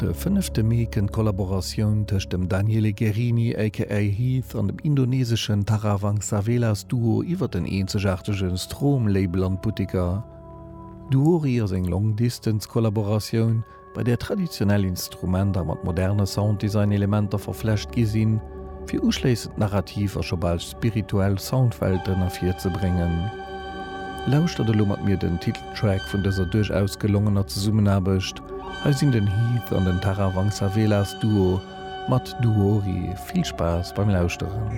De fënnefte Mee kënnt d'Kollaboratioun tëscht dem Daniele Guerrini aka Heath an dem indoneseschen Tarawangsavelas Duo iwwer den eenzegaartege Strom-Label an d'Butteker. Duori ass eng Long-Distance-Kollaboratioun, bei där traditionell Instrumenter mat moderne Sounddesign-Elementer verflecht gi sinn, fir uschléissend narrativ a scho bal spirituell Soundwelten ervirzebréngen. Lauschtert elo mat mir den Titeltrack vun dëser duerchaus gelongener Zesummenaarbecht. Hei sinn den Heath an den Tarawangsavelas Duo mat Duori. Vill Spaass beim Lauschteren.